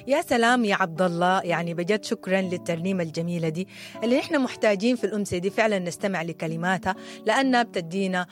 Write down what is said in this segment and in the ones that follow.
يا سلام يا عبد الله، يعني بجد شكرا للترنيمه الجميلة دي اللي احنا محتاجين في الامسيه دي فعلا نستمع لكلماتها، لانها بتدينا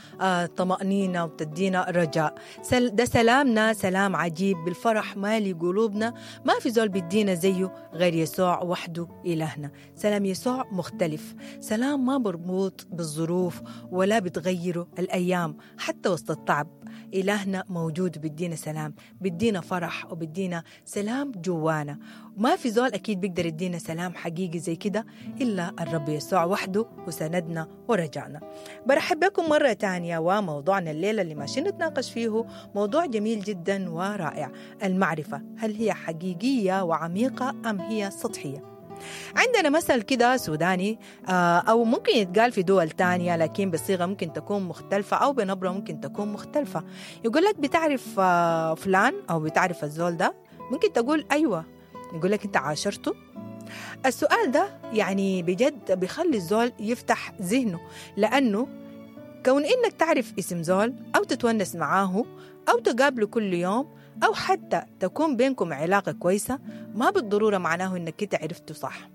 طمانينة وبتدينا رجاء. ده سلامنا سلام عجيب بالفرح مالي قلوبنا، ما في زول بيدينا زيه غير يسوع وحده الهنا. سلام يسوع مختلف، سلام ما مربوط بالظروف ولا بتغيره الايام حتى وسط التعب. إلهنا موجود، بيدينا سلام، بيدينا فرح، وبيدينا سلام جوانا. ما في زول أكيد بيقدر يدينا سلام حقيقي زي كده إلا الرب يسوع وحده، وسندنا ورجعنا. برحب بكم مرة تانية، وموضوعنا الليلة اللي ماشيين نتناقش فيه موضوع جميل جدا ورائع: المعرفة، هل هي حقيقية وعميقة أم هي سطحية؟ عندنا مثل كده سوداني أو ممكن يتقال في دول تانية لكن بصيغة ممكن تكون مختلفة أو بنبرة ممكن تكون مختلفة. يقول لك بتعرف فلان أو بتعرف الزول ده، ممكن تقول أيوة، يقول لك أنت عاشرته. السؤال ده يعني بجد بيخلي الزول يفتح ذهنه، لأنه كون إنك تعرف اسم زول أو تتونس معاه أو تقابله كل يوم أو حتى تكون بينكم علاقة كويسة ما بالضرورة معناه إنك أنت عرفته صح.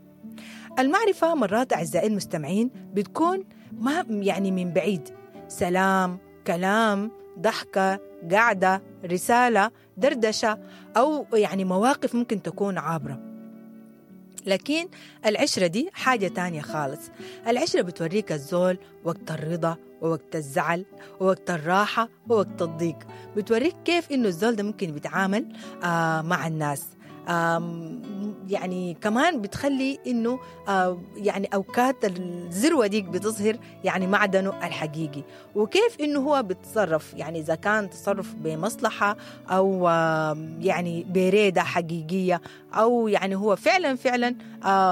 المعرفة مرات أعزائي المستمعين بتكون ما يعني من بعيد، سلام، كلام، ضحكة، قعدة، رسالة، دردشة، أو يعني مواقف ممكن تكون عابرة. لكن العشرة دي حاجة تانية خالص. العشرة بتوريك الزول وقت الرضا ووقت الزعل ووقت الراحة ووقت الضيق، بتوريك كيف إنه الزول ده ممكن بيتعامل مع الناس. يعني كمان بتخلي إنه يعني أوقات الذروة ديك بتظهر يعني معدنه الحقيقي، وكيف إنه هو بيتصرف، يعني إذا كان تصرف بمصلحة أو يعني بريدة حقيقية، أو يعني هو فعلا فعلا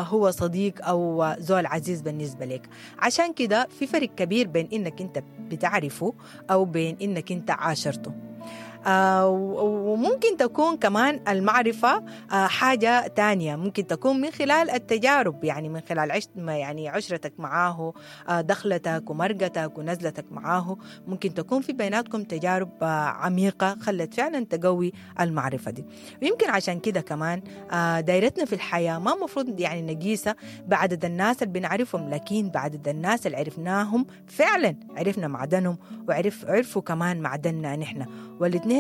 هو صديق أو زول عزيز بالنسبة لك. عشان كده في فرق كبير بين إنك أنت بتعرفه أو بين إنك أنت عاشرته. وممكن تكون كمان المعرفة حاجة تانية، ممكن تكون من خلال التجارب، يعني من خلال يعني عشرتك معاه، دخلتك ومرقتك ونزلتك معاه، ممكن تكون في بيناتكم تجارب عميقة خلت فعلا تقوي المعرفة دي. ويمكن عشان كده كمان دايرتنا في الحياة ما مفروض يعني نقيسها بعدد الناس اللي بنعرفهم، لكن بعدد الناس اللي عرفناهم فعلا، عرفنا معدنهم وعرفوا كمان معدننا نحن، والاثنين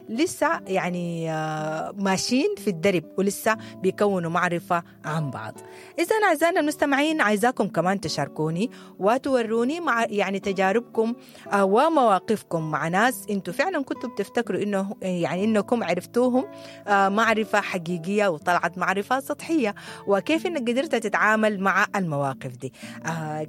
لسه يعني ماشيين في الدرب ولسه بيكونوا معرفة عن بعض. إذا أعزائنا المستمعين عايزاكم كمان تشاركوني وتوروني مع يعني تجاربكم ومواقفكم مع ناس انتوا فعلا كنتوا بتفتكروا إنه يعني إنكم عرفتوهم معرفة حقيقية وطلعت معرفة سطحية، وكيف إنك قدرت تتعامل مع المواقف دي.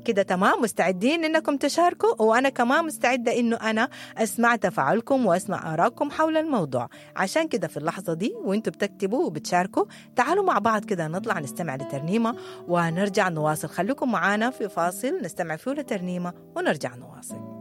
كده تمام، مستعدين إنكم تشاركوا، وأنا كمان مستعدة إنه أنا أسمع تفاعلكم وأسمع آراءكم حول الموضوع. عشان كده في اللحظة دي وانتوا بتكتبوا وبتشاركوا تعالوا مع بعض كده نطلع نستمع لترنيمة ونرجع نواصل. خليكم معانا في فاصل نستمع فيه لترنيمة ونرجع نواصل.